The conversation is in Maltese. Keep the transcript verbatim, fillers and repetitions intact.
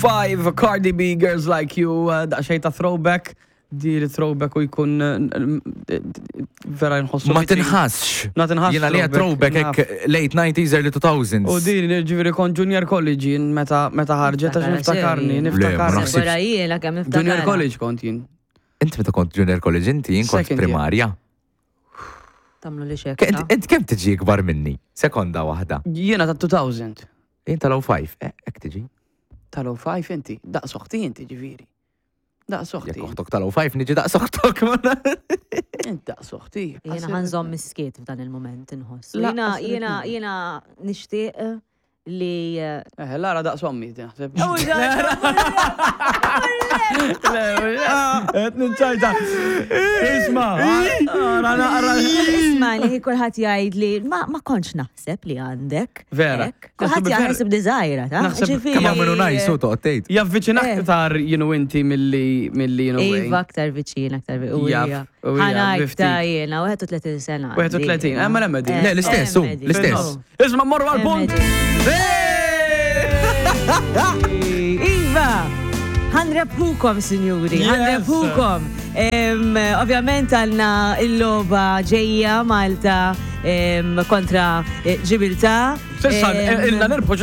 Five, Cardi B, Girls Like You, uh, daqsxejn ta' throwback. Di li throwback u jkun uh, vera nħossu. Ma tinħassx. Ma tinħassx. Jiena li throwback hekk late nineties, early two thousands. U din ġifieri kont junior college jien meta meta ħarġet, għax niftakarni, Le, ma niftakarni. naħsibx. Wara jiena kemm Junior niftakar. college kont jien. Inti meta kont junior college inti, jien kont Second year. primarja. Tagħmlu li xek. Ke- Int int kemm tiġi ikbar minni? Sekonda waħda. Jiena ta' elfejn. Jien tal-ħamsa. Eh, hekk tiġi. Tal-ħamsa inti, daqs oħti inti ġifieri. Daqs oħti. Jekk oħtok tal-ħamsa niġi daqs oħtok. Int daqs oħti. Jiena ħa nżomm is-skiet f'dan il-moment inħoss. La, Jiena jiena assolutament. jiena nixtieq li Eh, Lara daqs ommi, naħseb. Qed niċċajta. Isma, ara naqra. Isma' li kulħadd jgħid li ma ma kontx naħseb li għandek. Vera. Hekk. Kulħadd Naħseb jaħseb li żgħira, ta' Naħseb Ġifieri- Kemm għamlu najsu toqgħod tgħid. Javviċina Eh. aktar jienu inti milli milli jienu. Iva, aktar viċin, aktar viċin. Jaf, u hija, Ħa ngħid biftit. ta' jiena, wieħed u tletin sena. wieħed u tletin, eh, mela medi. Le, l-istess, hu, l-istess. Isma, morru għal-punt. Iva! Ħa nrebbħukom, sinjuri, Yes. ħa nrebbħukom. Em, Ovvjament għandna il-logħba ġejja Malta em, kontra eh, Ġibiltà. S'issa, Em, ilna nirbħu.